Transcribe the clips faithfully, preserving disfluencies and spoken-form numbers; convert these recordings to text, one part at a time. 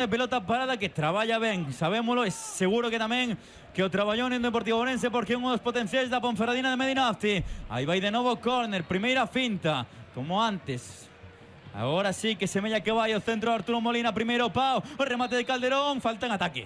de pelota parada que traballa ben, sabémolo, e seguro que tamén que o traballou en Deportivo Ourense porque é un dos potenciais da Ponferradina de Medinafti. Aí vai de novo córner, primeira finta, como antes. Agora sí que semella que vai o centro de Arturo Molina, primeiro pau, o remate de Calderón, falta en ataque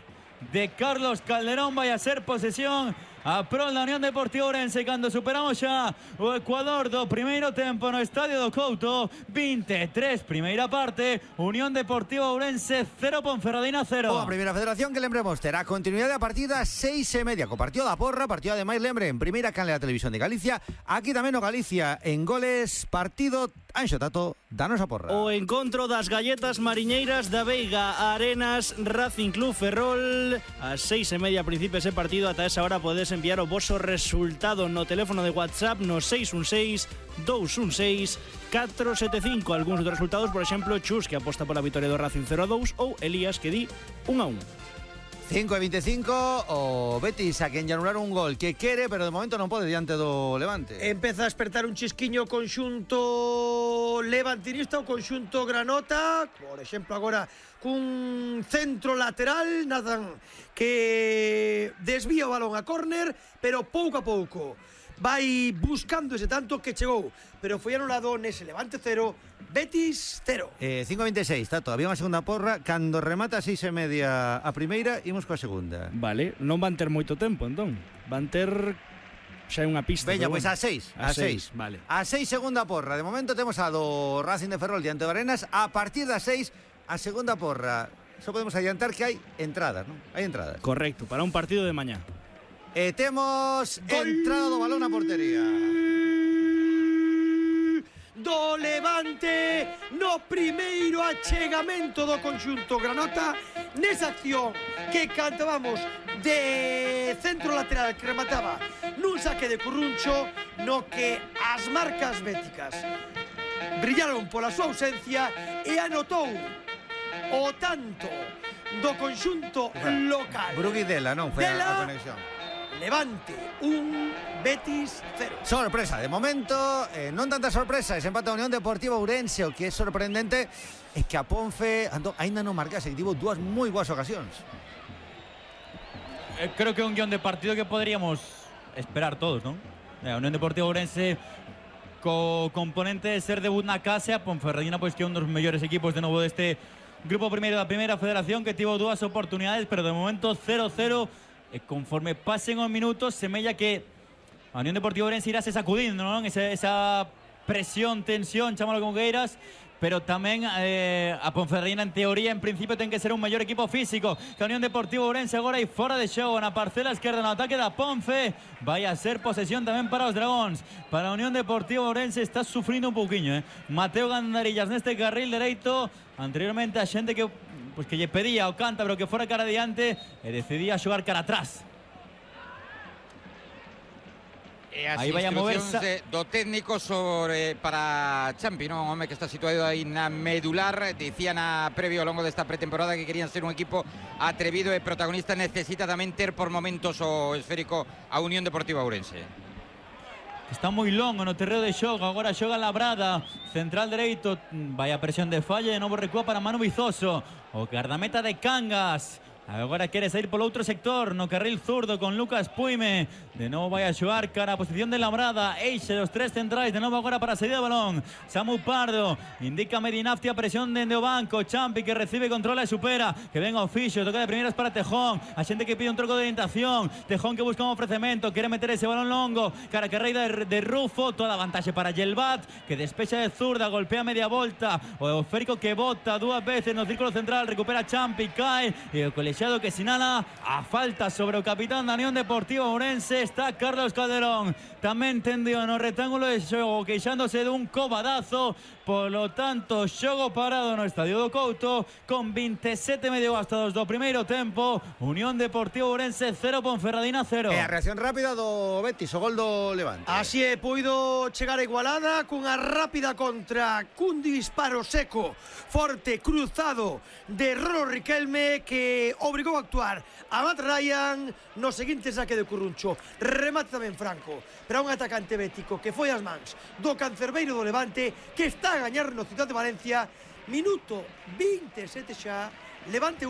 de Carlos Calderón, vai a ser posesión a prol da Unión Deportiva Ourense cando superamos xa o Ecuador do primeiro tempo no Estadio do Couto. veintitrés, primeira parte, Unión Deportiva Ourense cero, Ponferradina cero. A primeira federación que lembremos terá continuidade a partida seis e media co partido da Porra, partido ademais lembre en primeira canle da Televisión de Galicia, aquí tamén o Galicia en goles, partido Anxo Tato, danos a Porra. O encontro das galletas mariñeiras da Veiga, Arenas, Racing Club Ferrol, a seis e media principio ese partido. Ata esa hora podes enviar o voso resultado no teléfono de WhatsApp no seis un seis, dous un seis, catro sete cinco. Algúns dos resultados, por exemplo, Chus, que aposta pola vitoria do Racing cero a dous, ou Elías, que di un a un. cinco e veinticinco, o Betis a quen lle anularon un gol que quere, pero de momento non pode diante do Levante. Empeza a despertar un chisquiño conxunto levantinista, o conxunto granota, por exemplo agora cun centro lateral, Nathan, que desvía o balón a córner, pero pouco a pouco vai buscando ese tanto que chegou, pero foi anulado nese Levante cero, Betis cero. eh, cinco e veintiséis, Tato, había unha segunda porra. Cando remata a seis e media a primeira, imos coa segunda. Vale, non van ter moito tempo, entón. Van ter xa é unha pista. Veña, bueno. pois a seis, a seis. Vale. A seis segunda porra. De momento temos a do Racing de Ferrol diante do Arenas. A partir das seis, a segunda porra. Só podemos adiantar que hai entradas, non? Hai entradas. Correcto, para un partido de mañá. E temos Gol. entrada do balón na portería do Levante no primeiro achegamento do conxunto granota nesa acción que cantábamos de centro lateral que remataba nun saque de Curruncho, no que as marcas béticas brillaron pola súa ausencia e anotou o tanto do conxunto local. Brugui Dela, non? Foi Dela, a conexión. Levante un, Betis cero. Sorpresa, de momento, eh, non tanta sorpresa, ese empate a Unión Deportiva Ourense. O que é sorprendente é que a Ponfe ando, ainda non marcase, que tivo dúas moi boas ocasións. Eh, creo que é un guión de partido que poderíamos esperar todos, non? Eh, a Unión Deportiva Ourense co componente de ser debut na casa, a Ponferradina pois que é un dos mellores equipos de novo deste grupo primeiro da primeira federación, que tivo dúas oportunidades, pero de momento cero cero. E conforme pasen os minutos, semella que a Unión Deportiva Ourense irá se sacudindo, non? Esa, esa presión, tensión, chámalo como queiras, pero tamén eh, a Ponferradina en teoría, en principio, ten que ser un mellor equipo físico que a Unión Deportiva Ourense. Agora aí fora de xogo na parcela esquerda no ataque da Ponfe, vai a ser posesión tamén para os Dragóns. Para a Unión Deportiva Ourense está sufrindo un pouquiño, eh? Mateo Gandarillas neste carril dereito, anteriormente a xente que pues que lle pedía ao cántabro que fora cara adiante e decidía xogar cara atrás. E as aí vai a instruccións moverse do técnico sobre para Champi, non? Un home que está situado aí na medular. Dicían a previo ao longo desta pretemporada que querían ser un equipo atrevido e protagonista. Necesita tamén ter por momentos o esférico a Unión Deportiva Ourense. Está moi longo no terreo de xogo. Agora xoga Labrada, central dereito. Vaya presión de falla, de novo recúa para Manu Vizoso, o guardameta de Cangas. Agora quere sair polo outro sector, no carril zurdo con Lucas Puime. De novo vai a xogar cara a posición de Labrada. Eixe dos tres centrais, de novo agora para a saída do balón. Samu Pardo, indica Medinafti a presión dende o banco. Champi que recibe, controla e supera. Que venga o fixo, toca de primeras para Tejón. A xente que pide un troco de orientación. Tejón que busca un ofrecemento, quere meter ese balón longo. Cara que rei de, de Rufo, toda a vantaxe para Yelbat, que despexa de zurda, golpea media volta. O esférico que bota dúas veces no círculo central, recupera Champi, cae. E o colexiado que sinala a falta sobre o capitán da Unión Deportiva Ourense. Está Carlos Calderón tamén tendido no rectángulo de xogo, queixándose dun cobadazo. Polo tanto, xogo parado no Estadio do Couto con veintisiete medio gastados do primeiro tempo. Unión Deportiva Ourense cero, Ponferradina cero. E a reacción rápida do Betis, o gol do Levante. Así é, puido chegar a igualada cunha rápida contra, cun disparo seco, forte, cruzado de Rolo Riquelme, que obrigou a actuar a Matt Ryan no seguinte saque de Curruncho. Remate tamén Franco para un atacante bético que foi as mans do cancerbeiro do Levante, que está a gañar no Ciudad de Valencia. Minuto veintisiete xa, Levante